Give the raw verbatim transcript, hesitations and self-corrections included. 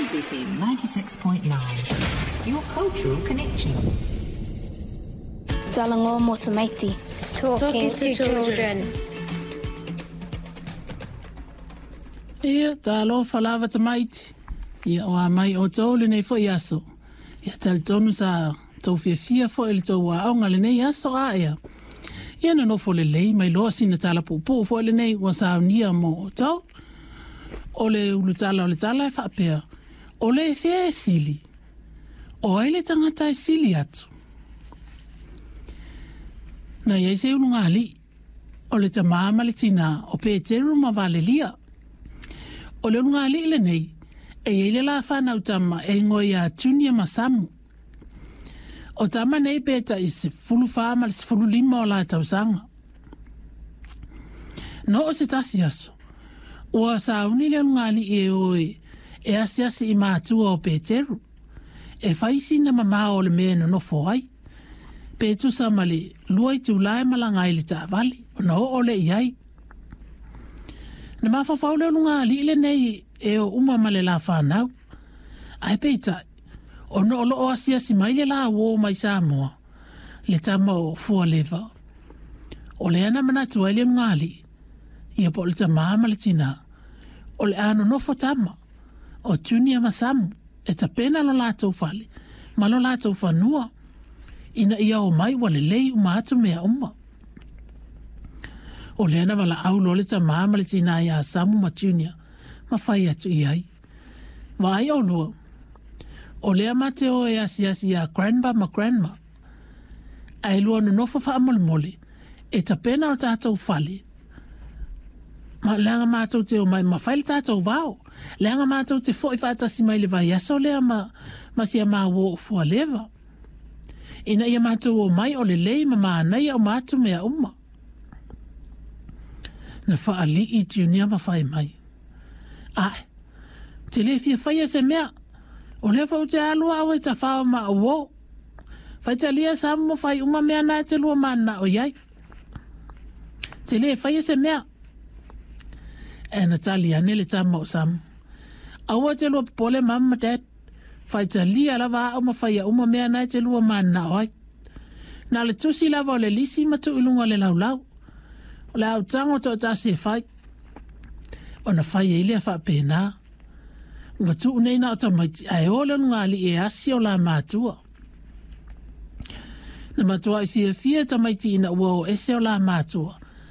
Plains F M ninety-six point nine, your cultural connection. Talango mo tamaiti. Talking to children. Ia, talofa lava tamaiti. Ia, o a mai o tau lenei foi aso. Ia, talitonu sa tau fiafia foi le tau aoga lenei aso a ea. Ia, nonofo lelei mai loa sina tala puupuu foi lenei ua saunia mo o tau. O le ulutala o le tala e faapea, o le fea e sili. O ai le tangata e sili atu. Na iai se ulugali, o le tamā ma le tina o Peteru ma Valelia. O le ulugali lenei, e iai le la whanau tama e ingoa ia Junior ma Samu. O tama nei pe tai sefulu wha ma le sefulu lima o la tausaga. No o se tasi aso, ua sauni le ulugali e oe e asiasi i mātua o Peteru. E whaisi na mamao o le mea nonofo ai. Pe tusa ma le lua i tūlae malanga i le taavale, ona oo le i ai. Na mawhawhau le ulugali lenei e o uma ma le la whanau. Ai peitai, ona o loo asiasi mai le la uo mai Samoa, le tama o Fualeva. O le ana manatu ai le ulugali, ia po o le tamā ma le tina, o le a nonofo tama, o Junior ma Samu, e tapena lo lātou fale, ma lo lātou whanua, ina ia o mai ua lelei uma atu mea uma. O lea na wala au lo le tamā ma le tina ia Samu ma Junior, ma whai atu i ai. Wa ai o lua, o lea mate o e asiasi ia grandpa ma grandma. Ai lua nonofo whaamolemole, e tapena o tātou fale. Ma leanga mātou te o mai, ma whai le tātou wao. Leanga mātou te foi whaatasi mai le vai aso lea ma, ma sia mā wo o Fualeva. Ina ia mātou o mai o le lei ma mānai o mātou mea uma. Na whaalii Junior ma whai mai. Ai, te le fia whaia se mea, o lea whau te alua au e ta whao ma o o. Whaitalia Samu mo whai uma mea nā te lua māna o iai. Te le whaia se mea. E na tali ane le tama o Samu. Aua te lua popole mama dad. Whaitalia lava au ma whaia uma mea nā te lua māna o ai. Nā le tusi lava o le lisi ma tu ilunga le laulau. O le au tango tō tasi e whai. O na whai e ilea whaapēnā. Ua tuu nei na o tamaiti ae o le ulugali e asi o la mātua. Na matua i fiafia tamaiti ina ua o ese o la mātua.